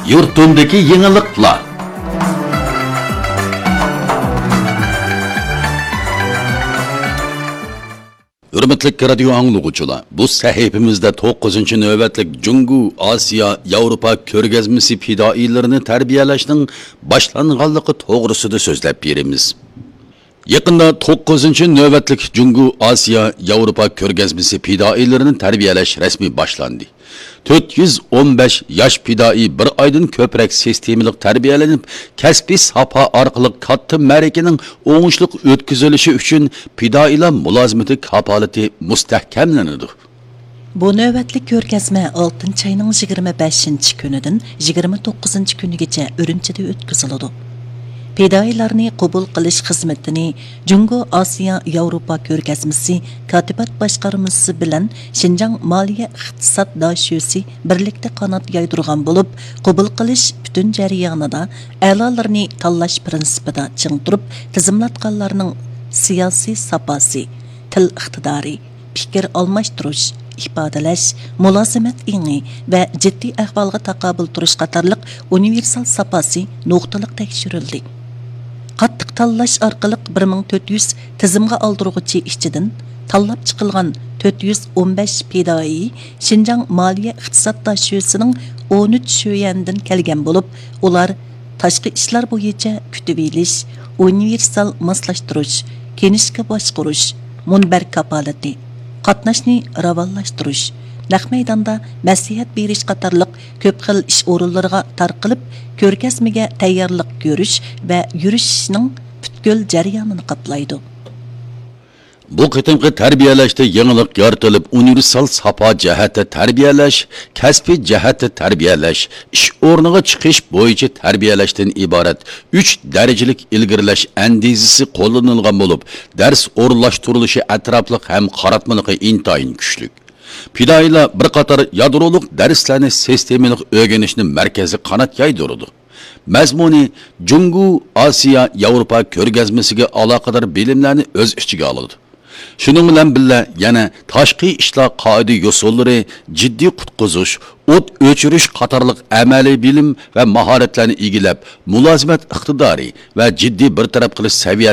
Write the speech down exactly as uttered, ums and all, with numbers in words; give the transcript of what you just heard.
يۇرتۇمدىكى يېڭىلىقلار. ھۆرمەتلىك رادىيو ئاڭلىغۇچىلار، بۇ سەھىپىمىزدە توققۇزىنچى نۆۋەتلىك جۇڭگو ئاسىيا ياۋروپا كۆرگەزمىسى پىدائىيلىرىنى تەربىيەلەشنىڭ باشلانغانلىقى توغرىسىدا سۆزلەپ بېرىمىز. يېقىندا توققۇزىنچى نۆۋەتلىك جۇڭگو ئاسىيا ياۋروپا كۆرگەزمىسى پىدائىيلىرىنى تەربىيەلەش رەسمىي باشلاندى. تۆت يۈز ئون بەش ياش پىدائىي بىر ئايدىن كۆپرەك سىستېمىلىق تەربىيەلىنىپ، كەسپىي ساپا ئارقىلىق كاتتا مەرىكىنىڭ ئوڭۇشلۇق ئۆتكۈزۈلۈشى ئۈچۈن پىدائىيلار مۇلازىمىتى كاپالىتى مۇستەھكەملىنىدۇ. بۇ نۆۋەتلىك كۆرگەزمە ئالتىنچى ئاينىڭ يىگىرمە بەشىنچى كۈنىدىن يىگىرمە توققۇزىنچى كۈنىگىچە ئۈرۈمچىدە ئۆتكۈزۈلىدۇ. پىدائىيلارنى قوبۇل قىلىش خىزمىتىنى جۇڭگو ئاسىيا ياۋروپا كۆرگەزمىسى كاتىپات باشقارمىسى بىلەن شىنجاڭ مالىيە ئىقتىساد داشۆسى بىرلىكتە قانات يايدۇرغان بولۇپ، قوبۇل قىلىش پۈتۈن جەريانىدا ئەلالىرىنى تاللاش پىرىنسىپىدا چىڭ تۇرۇپ، تىزىملاتقانلارنىڭ سىياسىي ساپاسى، تىل ئىقتىدارى، پىكىر ئالماشتۇرۇش، ئىپادىلەش، مۇلازىمەت ئېڭى ۋە جىددىي ئەھۋالغا تاقابىل تۇرۇش قاتارلىق ئۇنىۋېرسال ساپاسى نۇقتىلىق تەكشۈرۈلدى. قاتتىق تاللاش ئارقىلىق بىر مىڭ تۆت يۈز تىزىمغا ئالدۇرغۇچى ئىچىدىن تاللاپ چىقىلغان تۆت يۈز ئون بەش پىدائىي شىنجاڭ مالىيە ئىقتىساد داشۆسىنىڭ ئون ئۈچ شۆيەندىن كەلگەن بولۇپ، ئۇلار تاشقى ئىشلار بويىچە كۈتۈۋېلىش، ئۇنىۋېرسال ماسلاشتۇرۇش، كىنىشكا باشقۇرۇش، مۇنبەر كاپالىتى، قاتناشنى راۋانلاشتۇرۇش، نەق مەيداندا مەسلىھەت بېرىش قاتارلىق كۆپ خىل ئىش ئورۇنلىرىغا تارقىلىپ، كۆرگەزمىگە تەييارلىق كۆرۈش ۋە يۈرۈشۈشنىڭ پۈتكۈل جەريانىنى قاپلايدۇ. بۇ قېتىمقى تەربىيەلەشتە يېڭىلىق يارىتىلىپ، ئۇنىۋېرسال ساپا جەھەتتە تەربىيەلەش، كەسپىي جەھەتتە تەربىيەلەش، ئىش ئورنىغا چىقىش بويىچە تەربىيەلەشتىن ئىبارەت ئۈچ دەرىجىلىك ئىلگىرىلەش ئەندىزىسى قوللىنىلغان بولۇپ، دەرس ئورۇنلاشتۇرۇلۇشى ئەتراپلىق ھەم قاراتمىلىقى ئىنتايىن كۈچلۈك. پىدائىيلار بىر قاتار يادرولۇق دەرسلەرنى سىستېمىلىق ئۆگىنىشنى مەركەزلىك قانات يايدۇرىدۇ. مەزمۇنى جۇڭگو ئاسىيا ياۋروپا كۆرگەزمىسىگە ئالاقىدار بىلىملەرنى ئۆز ئىچىگە ئالىدۇ. شۇنىڭ بىلەن بىللە، يەنە تاشقى ئىشلار قائىدە يوسۇنلىرى، جىددىي قۇتقۇزۇش، ئوت ئۆچۈرۈش قاتارلىق ئەمەلىي بىلىم ۋە ماھارەتلەرنى ئىگىلەپ، مۇلازىمەت ئىقتىدارى ۋە جىددىي بىر تەرەپ قىلىش سەۋىيەسى